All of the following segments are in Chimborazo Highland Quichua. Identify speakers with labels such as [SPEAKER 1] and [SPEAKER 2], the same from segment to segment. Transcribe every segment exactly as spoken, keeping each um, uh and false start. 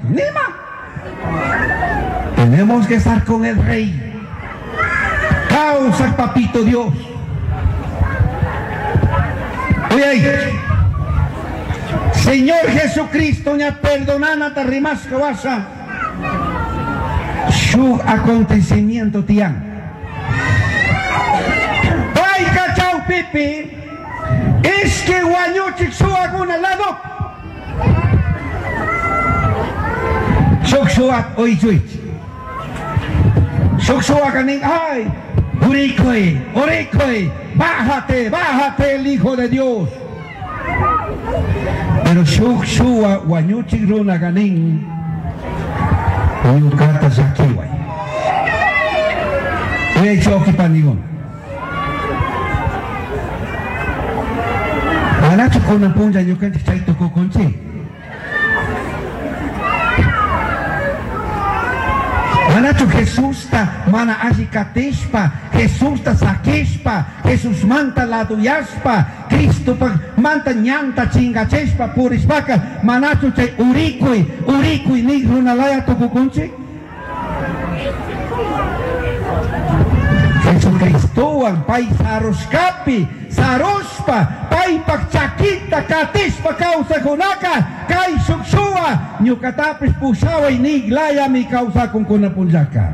[SPEAKER 1] Nima. Tenemos que estar con el rey. Causa papito Dios. Oye, Señor Jesucristo, ña perdonana ta rimasca wasa. Shuj acontecimiento tiyan. Payka chawpipi, ishki wañuchik suwakuna lado. Shuk suwak uychuychi. Shuk suwaka nin, ay, urikuy, urikuy, bájate, bájate el Hijo de Dios. Pero shuk suwa wañuchik runaka nin, ñukata llakiway. Uyaychi paniguna. Manachu kunan punlla ñukanchik chay tukukunchik. Manachu Jesusta mana alli katishpa, Jesusta sakishpa, Jesús manta laduyashpa, Cristo manta ñanta chingachishpa purishpaka, manachu chay urikuy, urikuy nik runalaya tukukunchik. Jesucristowan pay sarushkapi, sarushpa, paypak chakita katishpa kawsakunaka, kay shuk shuwa, ñukatapis pushaway niklayami kawsakunkuna punllaka.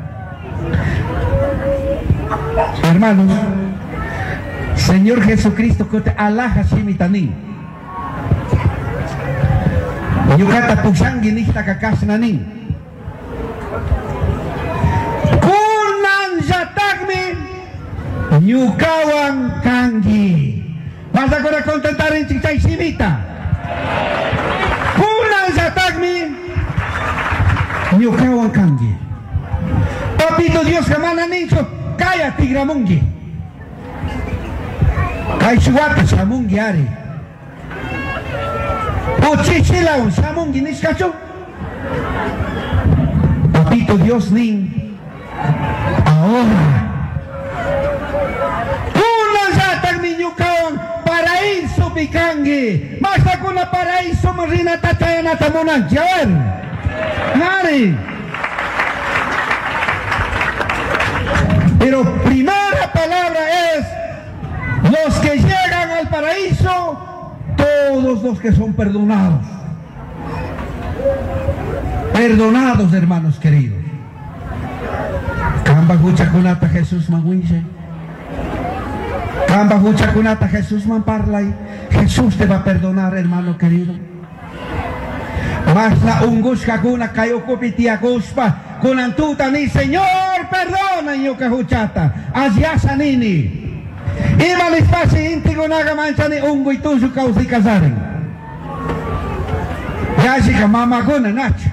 [SPEAKER 1] Hermanos, Señor Jesucristo que te alaja shimitanin. Ñukata pushangi niktaka kashnanin. Kunan llatakmi ñukawan kangi. Vas a contentar en chay shimita. Kunan llatakmi ñukawan kangi. Papito Dios mana ninchu kaya tigramungi. Kay shuwata shamungi ari. Uchichilawan shamungi nishkachu. Papito Dios nin ahora. Kunan llatakmi ñukawan paraíso pikangi. Masakuna paraíso rinata chayanata munanchi. A ver. Nari. Pero primera palabra es los que llegan al paraíso, todos los que son perdonados. Perdonados, hermanos queridos. Kamba huchakunata Jesús man winche. Kamba huchakunata Jesús man parlay. Jesús te va a perdonar, hermano querido. Masna ungushkakuna kay ukupi tiyakushpa kunan tuta ni Señor perdona ñuka huchata asyasa nini. Ima nispashi intikunaqa manchani unguy tullu kawsay kasarin. Yashika mamakuna nacho.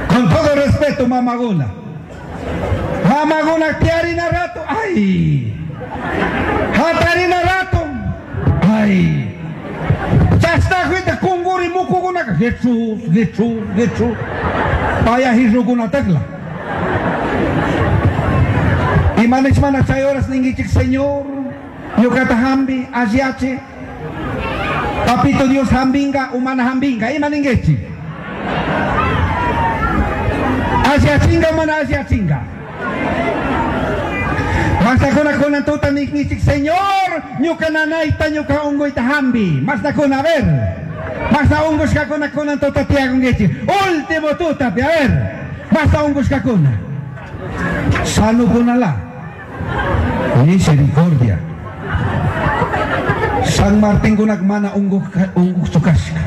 [SPEAKER 1] Con todo respeto mamakuna. Mamakuna tiarina rato, ay. Hatarina rato, ay. Chashtajuita kunguri mukukunaka Jesús, Jesús, Jesús. Paya hirrukuna takla. Ima nishmana chay horas ninguichik Señor, ñukata hambi, asyache. Papito Dios hambinga, umana hambinga, ima ninguichik. Asyachinga, umana asyachinga. Mastakuna kunan tuta ninguichik Señor, ñuka nanayta, ñuka ungoyta hambi. Mastakuna, a ver. Masta ungushkakuna kunan tuta tiyakunguichik. Último tuta, a ver. Masta ungushkakuna. Sanukunala. Misericordia. San Martín kunak mana unguq kashka.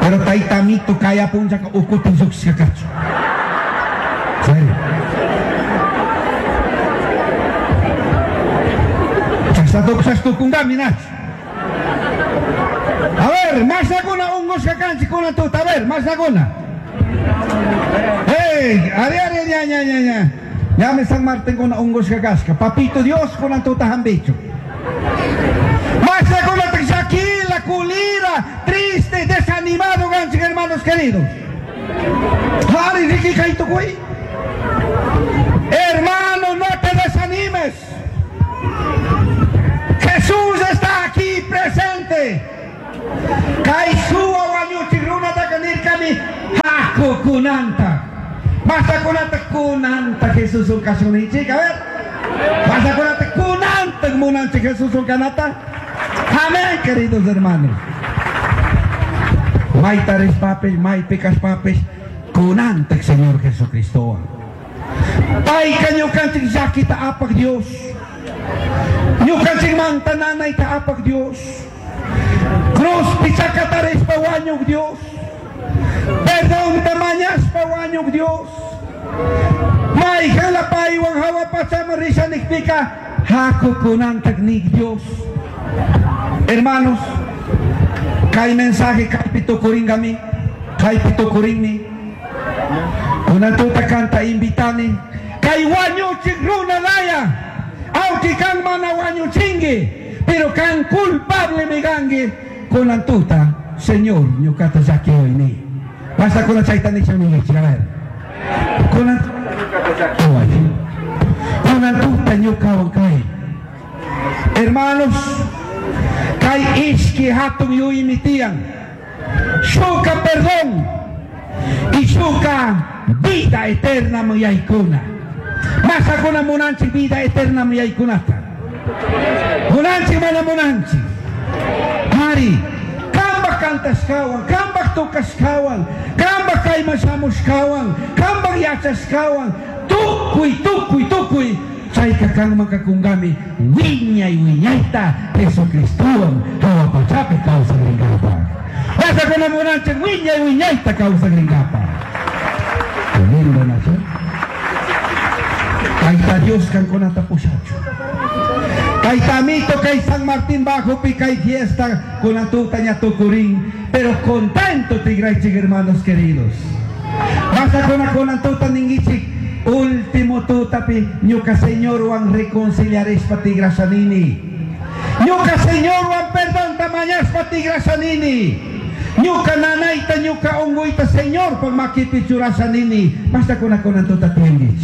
[SPEAKER 1] Pero taytamito kaya punchaka ukutin lluqshka kachu. Serio. Chashtukunkami nachu. A ver, masakuna ungushka kanchik kunan tuta, a ver, masakuna. Hey, ari ari ña ña ña ña. Ya me San Martín kuna ungushka kashka. Papito Dios kunan tuta hambichu. Masakuna Shakila, culira, triste, desanimado, ganchik, hermanos queridos. Ari riki kaytukui. Hermano, no te desanimes. Jesús está aquí presente. Kay suwa wañuchik runataka nirkami Haku kunanta. Mashnakunata kunanta Jesuswan kashun ninchik, a ver. Mashnakunata kunanta munanchik Jesuswan kanata. Amén, queridos hermanos. Mayta rishpapis, maypi kashpapis, kunantak Señor Jesucristowan. Payka ñukanchik llakita apak Dios. Ñukanchikmanta nanayta apak Dios. Cruzpi chakatarishpa wañuk Dios. Perdonta mañashpa wañuk Dios. Mayjala paywan hawa pachaman risha nikpika haku kunantak nik Dios. Hermanos, kay mensaje kaypi tukuringami, kaypi tukurinmi. Kunan tuta kanta invitani, kay wañuchik runa laya, aunque kan mana wañuchingi, pero kan culpable mi kangi, kunan tuta, Señor, ñukata llakiway ni. Basta kunan chayta nisha ningichik, a ver. Kunan ñukata llakiway. Kunan tuta ñukawan kay. Hermanos, kay ishki hatun yuymi tiyan. Shuka perdón y shuka vida eterna yaykuna. Mashakuna munanchik vida eterna yaykunata. Munanchik mana munanchik. Ari, kambaj kantashkawan, kambaj tukashkawan, kambaj kayman shamushkawan, kambaj yachashkawan, tukuy, tukuy, tukuy, chayka kanman kakungami wiñay wiñayta Jesucristowan hawa pachapi kawsakrinkapaj. Mashakuna munanchik wiñay wiñayta kawsakrinkapaj. Qué lindo, Nacho. Tayta Dios kankunata pushachu. Kay amito, kay San Martín Bajo kay fiesta kunan tuta ña tukurin, pero contento tigraychik hermanos queridos. Mashakuna kunan tuta ningichik último tutapi ñuka Señorwan reconciliarishpa tigrashanini. Ñuka Señorwan perdonta mañashpa tigrashanini. Ñuka nanayta ñuka unguyta Señor pag makipi churashanini. Mashakuna kunan tuta tiyangichik.